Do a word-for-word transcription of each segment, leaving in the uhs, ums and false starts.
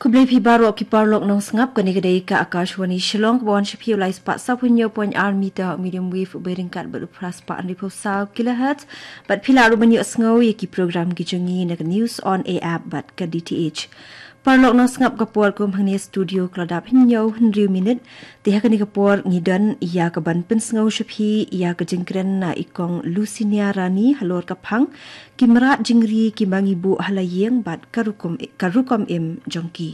Khublei phi baroh ki paralok nongsngap, kane ka dei ka Akashvani Shillong, kaba wan sha phi u lai spah saw phew hynñiew point ar meter medium wave, u beit ryngkat bad u phra spah hynriew phew saw kilohertz, bad phi lah ruh ban ïohsngew ïa ki program ki jong ngi na ka News on Air app bad ka D T H. Paralok nongsngap, ka por kum hangne studio ka la dap hynñiew hynriew minit. Te ha kane ka por ngi don ïa ka ban pynsngew sha phi ïa ka jingkren na i Kong Lucinia Rani halor ka phang ki mrad jingri kiba ngi buh ha la ïing bad ka rukom, ka rukom im jong ki.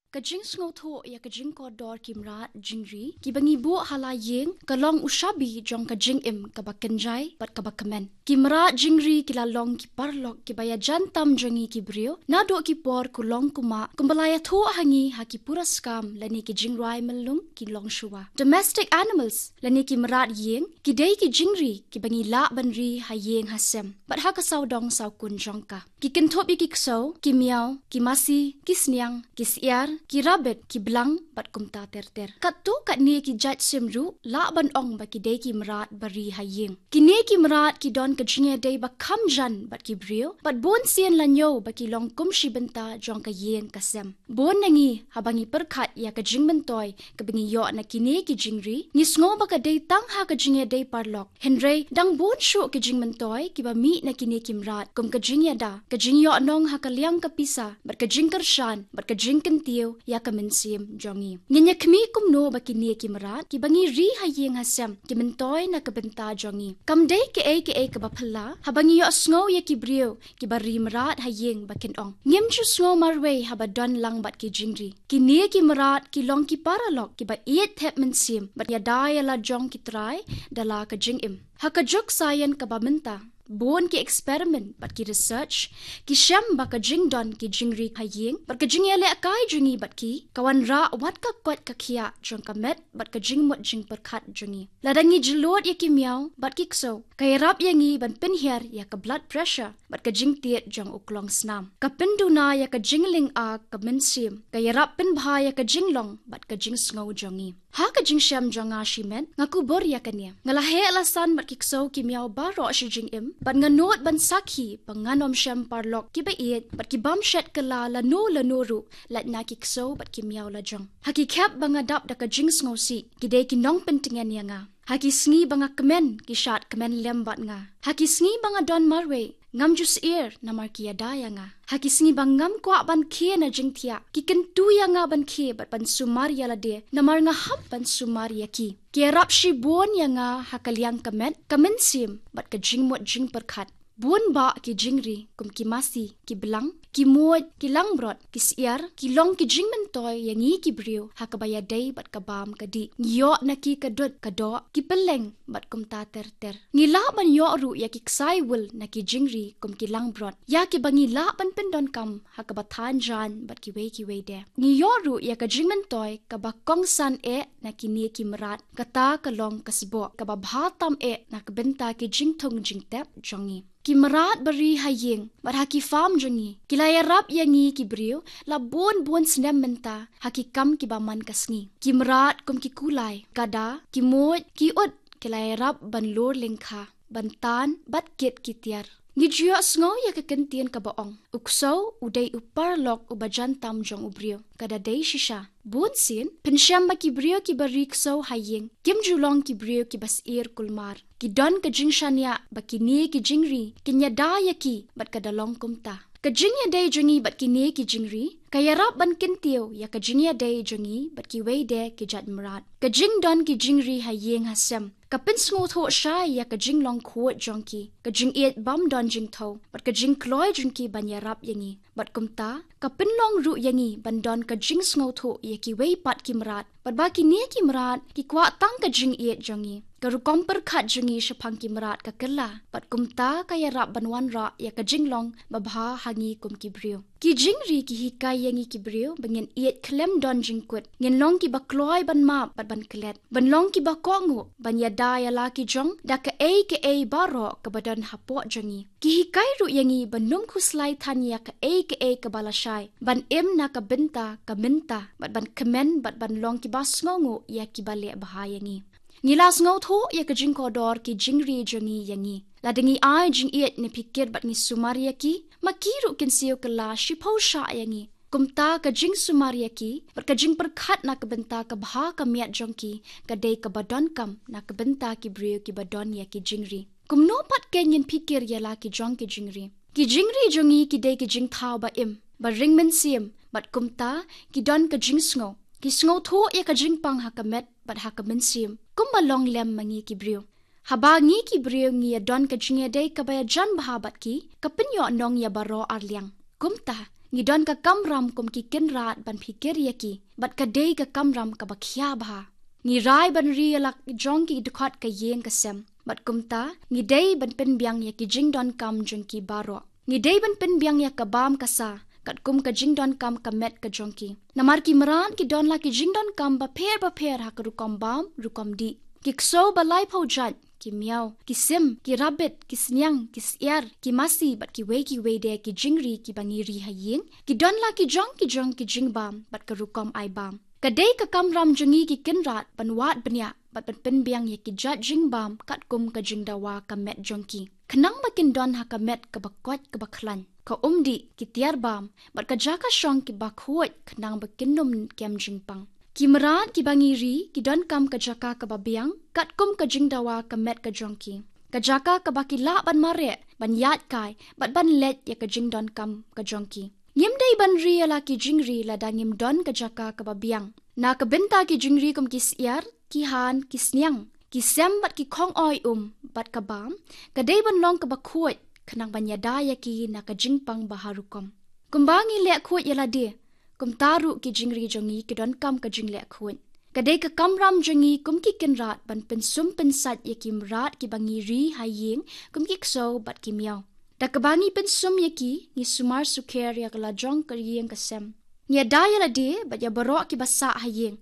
Ka jingsngewthuh ïa ka jingkordor ki mrad jingri kiba ngi buh ha la ïing ka long u shabi jong ka jingim kaba kynjai bad kaba kmen. Ki mrad jingri ki la long ki paralok kiba ïajan tam jong ngi ki briew naduh ki por kulong kumah, kumba la ïathuh ha ngi ha ki pura skam lane ki jingrwai myllung ki longshuwa. Domestic animals lane ki mrad ïing ki dei ki jingri kiba ngi lah ban ri ha ïing ha sem bad ha ka sawdong sawkun jong ka. Ki kynthup ïa ki ksew, ki miaw, ki masi, ki sniang, ki syiar, ki rabbit, ki blang bad kumta ter ter. Katto katne ki jait sim ruh lah ban ong ba ki dei ki mrad ba ri ha ïing. Kine ki mrad ki don ka jingïadei ba kham jan bad ki briew, bad bun sien la ñiew ba ki long kum shi bynta jong ka ïing ka sem. Bun na ngi haba ngi pyrkhat ïa ka jingmyntoi kaba ngi ïoh na kine ki jingri, ngi sngew ba ka dei tang ha ka jingïadei paralok. Hynrei dang bun shuh ki jingmyntoi kiba mih na kine ki mrad, kum ka jingïada, ka jingïohnong ha ka liang ka pisa, bad ka jingkyrshan bad ka jingkyntiew ïa ka mynsiem jong ngi. Ngin ïa khmih kumno ba kine ki mrad kiba ngi ri ha ïing ha sem ki myntoi na ka bynta jong ngi? Kam dei kaei kaei kaba phylla haba ngi ïohsngew ïa ki briew kiba ri mrad ha ïing ba kin ong, ngim ju sngew marwei haba don lang bad ki jingri. Kine ki mrad ki long ki paralok kiba ïeit thep mynsiem bad ïada ïa la jong ki trai da la ka jingim. Ha ka juk science kaba mynta, bun ki experiment bad ki research ki shem ba ka jingdon ki jingri ha ïing bad ka jingïalehkai jong ngi bad ki, ka wanrah wat ka koit ka khiah jong ka met bad ka jingmut jingpyrkhat jong ngi. Lada ngi jlud ïa ki miaw bad ki ksew, ka ïarap ïa ngi ban pynhiar ïa ka blood pressure bad ka jingtied jong u klongsnam. Ka pynduna ïa ka jinglynga ka mynsiem, ka ïarap pynbha ïa ka jinglong bad ka jingsngew jong ngi. Ha ka jingshem jong nga shimet, nga kubur ïa kane. Nga la heh la san bad ki ksew ki miaw baroh shi jingim, bad nga nud ban sakhi ba ngan ym shem paralok kiba ïeit bad ki bym shet kylla lano lano ruh, lait na ki ksew bad ki miaw la jong. Ha ki khep ba nga dap da ka jingsngewsih, ki dei ki nongpyntngen ïa nga. Ha ki sngi ba nga kmen, ki shad kmen lem bad nga. Ha ki sngi ba nga don marwei, ngam ju syier namar ki ïada ïa nga. Ha ki sngi ba ngam kwah ban khie na jingthiah, ki kyntu ïa nga ban khie bad ban sumar ïa lade namar nga hap ban sumar ïa ki. Ki ïarap shibun ïa nga ha ka liang ka met, ka mynsiem bad ka jingmut jingpyrkhat. Bun bah ki jingri kum ki masi, ki blang, ki muid, ki langbrot, ki syiar, ki long ki jingmyntoi ïa ngi ki briew ha kaba ïadei bad ka bam ka dih. Ngi ïoh na ki ka dud ka doh, ki pylleng bad kumta ter ter. Ngi lah ban ïoh ruh ïa ki ksai wul na ki jingri kum ki langbrot, ïa kiba ngi lah ban pyndonkam ha kaba than jaiñ bad kiwei kiwei de. Ngi ïoh ruh ïa ka jingmyntoi kaba kongsan eh na kine ki mrad, kata ka long ka sboh kaba bha tam eh na ka bynta ki jingthung jingtep jong ngi. Ki mrad ba ri ha ïing bad ha ki farm jong ngi ki la ïarap ïa ngi ki briew la bun bun snem mynta ha ki kam kiba man ka sngi. Ki mrad kum ki kulai, kada, ki muid, ki ut, ki la ïarap ban lur lyngkha, ban tan bad kit ki tiar. Ngi ju ïohsngew ïa ka kyntien kaba ong, u ksew u dei u paralok uba jan tam jong u briew. Ka da dei shisha. Bun sien phin shem ba ki briew kiba ri ksew ha ïing kim ju long ki briew kiba syier kulmar. Ki don ka jingshaniah ba kine ki jingri kin ïada ïa ki bad ka da long kumta. Ka jingïadei jong ngi bad kine ki jingri ka ïarap ban kyntiew ïa ka jingïadei jong ngi bad kiwei de ki jait mrad. Ka jingdon ki jingri ha ïing ha sem ka pynsngewthuh shai ïa ka jinglong khuid jong ki, ka jingïeit bym don jingthew bad ka jingkloi jong ki ban ïarap ïa ngi. Bad kumta ka pynlong ruh ïa ngi ban don ka jingsngewthuh ïa kiwei pat ki mrad, bad ba kine ki mrad ki kwah tang ka jingïeit jong ngi. Ka rukom pyrkhat jong ngi shaphang ki mrad ka kylla, bad kumta ka ïarap ban wanrah ïa ka jinglong babha ha ngi kum ki briew. Ki jingri ki hikai ïa ngi ki briew ba ngin ïeit khlem don jingkut, ngin long kiba kloi ban map bad ban klet, ban long kiba kohnguh, ban ïada ïa la ki jong da kaei kaei baroh kaba don hapoh jong ngi. Ki hikai ruh ïa ngi ban ym khuslai than ïa kaei kaei kaba lashai, ban im na ka bynta ka mynta bad ban kmen bad ban long kiba sngewnguh ïa kiba leh bha ïa ngi. Ngi la sngewthuh ïa ka jingkordor ki jingri jong ngi ïa ngi. Lada ngi ai jingïeit ne phikir bad ngi sumar ïa ki, ma ki ruh kin siew kylla shiphew shah ïa ngi. Kumta ka jingsumar ïa ki bad ka jingpyrkhat na ka bynta ka bha ka miat jong ki, ka dei kaba donkam na ka bynta ki briew kiba don ïa ki jingri. Kumno pat kein ngin phikir ïa la ki jong ki jingri? Ki jingri jong ngi ki dei ki jingthaw ba im, ba ring mynsiem, bad kumta ki don ka jingsngew. Ki sngewthuh ïa ka jingpang ha ka met bad ha ka mynsiem, kumba long lem ma ngi ki briew. Haba ngi ki briew ngi ïa don ka jingïadei kaba ïajan bha bad ki, ka pynïoh nong ïa baroh arliang. Kumta, ngi don ka kamram kum ki kynrad ban phikir ïa ki, bad ka dei ka kamram kaba khia bha. Ngi rai ban ri ïa la jong ki dkhot ka ïing ka sem, bad kumta ngi dei ban pynbiang ïa ki jingdonkam jong ki baroh. Ngi dei ban pynbiang ïa ka bam ka sa katkum ka jingdonkam ka met ka jong ki. Namar ki mrad ki don la ki jingdonkam bapher bapher ha ka rukom bam, rukom dih. Ki ksew ba laiphew jait, ki miaw, ki sim, ki rabbit, ki sniang, ki syiar, ki masi bad kiwei kiwei de ki jingri kiba ngi ri ha ïing. Ki don la ki jong ki jong ki jingbam bad ka rukom ai bam. Ka dei ka kamram jong ngi ki kynrad ban wad bniah bad ban pynbiang ïa ki jait jingbam katkum ka jingdawa ka met jong ki, khnang ba kin don ha ka met kaba koit kaba khlaiñ, ka umdih, ki tiar bam bad ka jaka shong kiba khuid, khnang ba kin ym kem jingpang. Ki mrad kiba ngi ri ki donkam ka jaka kaba biang katkum ka jingdawa ka met ka jong ki, ka jaka kaba ki lah ban mareh, ban ïaid kai bad ban leit ïa ka jingdonkam ka jong ki. Ngim dei ban ri ïa la ki jingri lada ngim don ka jaka kaba biang. Na ka bynta ki jingri kum ki syiar, ki han, ki sniang, ki sem bad ki khong oi um bad ka bam, ka dei ban long kaba khuid, khnang ban ïada ïa ki na ka jingpang ba har rukom. Kumba ngi leh khuid ïa lade, kumta ruh ki jingri jong ngi ki donkam ka jingleh khuid. Ka dei ka kamram jong ngi kum ki kynrad ban pynsum pynsait ïa ki mrad kiba ngi ri ha ïing, kum ki ksew bad ki miaw. Da kaba ngi pynsum ïa ki, ngi sumar sukher ïa ka la jong ka ïing ka sem. Ngi ïada ïa lade bad ïa baroh kiba sah ha ïing,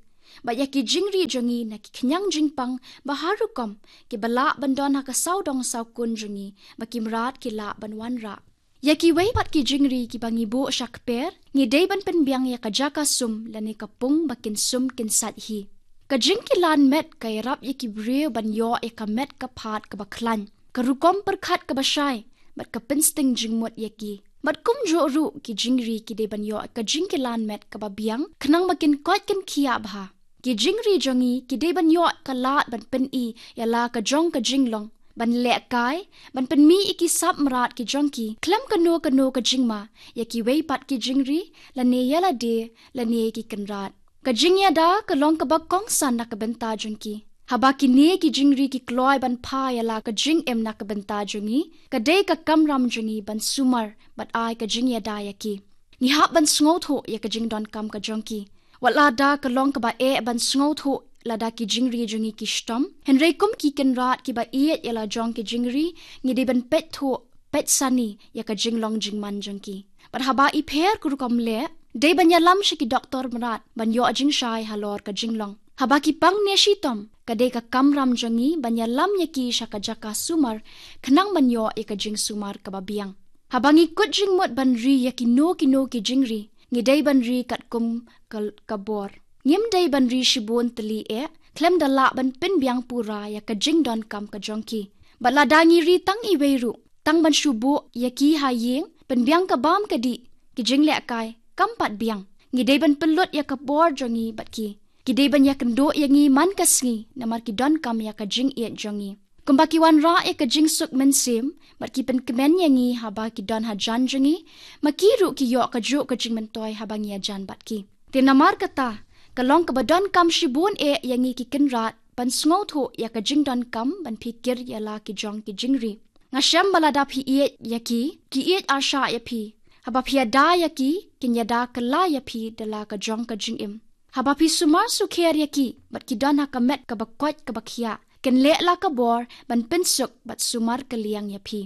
bad ïa ki jingri jong ngi na ki khñiang jingpang ba har rukom, kiba lah ban don ha ka sawdong sawkun jong ngi, ba ki mrad ki lah ban wanrah. Ïa kiwei pat ki jingri kiba ngi buh sha kper, ngi dei ban pynbiang ïa ka jaka sum lane ka pung ba kin sum kin sait hi. Ka jingkilan met ka ïarap ïa ki briew ban ïoh ïa ka met ka phad kaba khlaiñ, ka rukom pyrkhat kaba shai, bad ka pynsting jingmut ïa ki. Bad kumjuh ruh ki jingri ki dei ban ïoh ka jingkilan met kaba biang, khnang ba kin koit kin khiah bha. Ki jingri jong ngi ki dei ban ïoh ka lad ban pyni ïa la ka jong ka jinglong, ban lehkai, ban pynmih ïa ki sap mrad ki jong ki khlem kano kano ka jingma ïa kiwei pat ki jingri, lane ïa lade, lane ïa ki kynrad. Ka jingïada ka long kaba kongsan na ka bynta jong ki. Haba kine ki jingri ki kloi ban phah ïa la ka jingim na ka bynta jong ngi, ka dei ka kamram jong ngi ban sumar bad ai ka jingïada ïa ki. Ngi hap ban sngewthuh ïa ka jingdonkam ka jong ki. Wat lada ka long kaba eh ban sngewthuh lada ki jingri jong ngi ki shitom, hynrei kum ki kynrad kiba ïeit ïa la jong ki jingri, ngi dei ban peit thuh, peit sani ïa ka jinglong jingman jong ki. Bad haba i pher ka rukom leh, dei ban ïalam sha ki doktor mrad ban ïoh jingshai halor ka jinglong. Haba ki pang ne shitom, ka dei ka kamram jong ngi ban ïalam ïa ki sha ka jaka sumar, khnang ban ïoh ïa ka jingsumar kaba biang. Haba ngi kut jingmut ban ri ïa kino kino ki jingri, ngi dei ban ri katkum ka, ka bor. Ngim dei ban ri shibun tylli eh, khlem da lah ban pynbiang pura ïa ka jingdonkam ka jong ki. Bad lada ngi ri tang iwei ruh, tang ban shu buh ïa ki ha ïing, pynbiang ka bam ka dih, ki jinglehkai, kam pat biang. Ngi dei ban pynlut ïa ka bor jong ngi bad ki. Ki dei ban ïakynduh ïa ngi man ka sngi, namar ki donkam ïa ka jingïeit jong ngi. Kumba ki wanrah ïa ka jingsuk mynsiem, bad ki pynkmen ïa ngi haba ki don hajan jong ngi, ma ki ruh ki ïoh kajuh ka jingmyntoi haba ngi ïajan bad ki. Te namar kata, ka long kaba donkam shibun eh ïa ngi ki kynrad ban sngewthuh ïa ka jingdonkam ban phikir ïa la ki jong ki jingri. Nga shem ba lada phi ïeit ïa ki, ki ïeit arshah ïa phi. Haba phi ïada ïa ki, kin ïada kylla ïa phi da la ka jong ka jingim. Haba phi sumar sukher ïa ki, bad ki don ha ka met kaba koit kaba khiah, kin leh la ka bor ban pynsuk bad sumar kylliang ïa phi.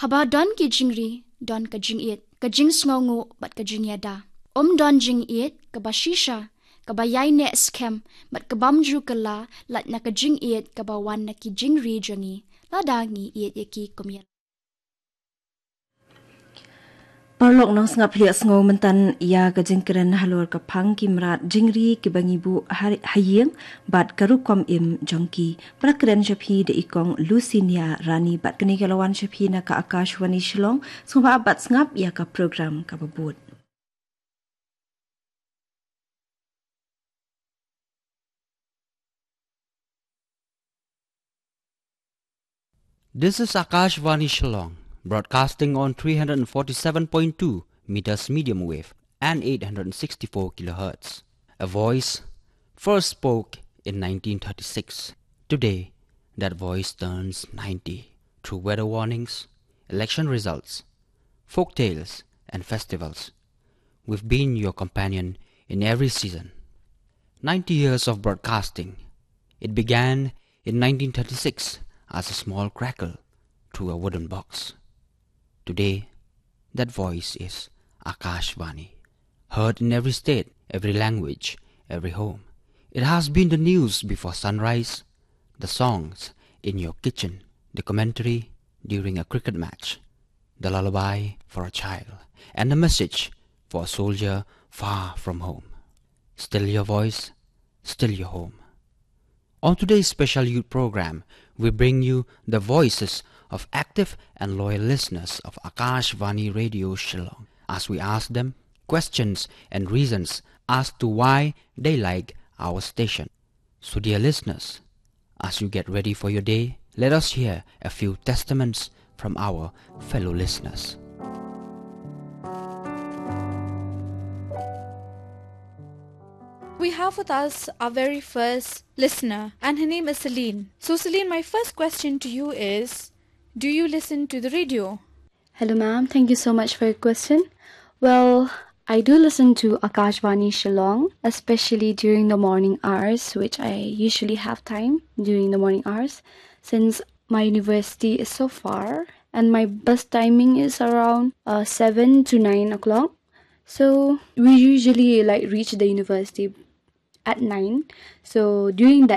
Haba don ki jingri, don ka jingïeit, ka jingsngewnguh bad ka jingïada. Um don jingïeit kaba shisha, kaba ïaineh skhem, bad kabym ju kylla, lait na ka jingïeit kaba wan na ki jingri jong ngi, lada ngi ïeit ïa ki kum ïa Paralok nongsngap, phi ïa sngew mynta ïa ka jingkren halor ka phang ki mrad jingri kiba ngi buh ha, ha ïing bad ka rukom im jong ki. Ba la kren sha phi da i Kong Lucinia Rani bad kane ka la wan sha phi na ka Akashvani Shillong. Sngewbha bad sngap ïa ka program kaba bud. This is Akashvani Shillong, broadcasting on three hundred forty-seven point two meters medium wave and eight hundred sixty-four kilohertz. A voice first spoke in nineteen thirty-six. Today, that voice turns ninety. Through weather warnings, election results, folk tales, and festivals, we've been your companion in every season. Ninety years of broadcasting. It began in nineteen thirty-six as a small crackle through a wooden box. Today, that voice is Akashvani, heard in every state, every language, every home. It has been the news before sunrise, the songs in your kitchen, the commentary during a cricket match, the lullaby for a child, and the message for a soldier far from home. Still your voice, still your home. On today's special youth program, we bring you the voices of active and loyal listeners of Akashvani Radio Shillong as we ask them questions and reasons as to why they like our station. So, dear listeners, as you get ready for your day, let us hear a few testaments from our fellow listeners. We have with us our very first listener, and her name is Celine. So, Celine, my first question to you is, do you listen to the radio? Hello, ma'am. Thank you so much for your question. Well, I do listen to Akashvani Shillong, especially during the morning hours, which I usually have time during the morning hours, since my university is so far and my bus timing is around uh, seven to nine o'clock. So we usually like reach the university at nine. So during that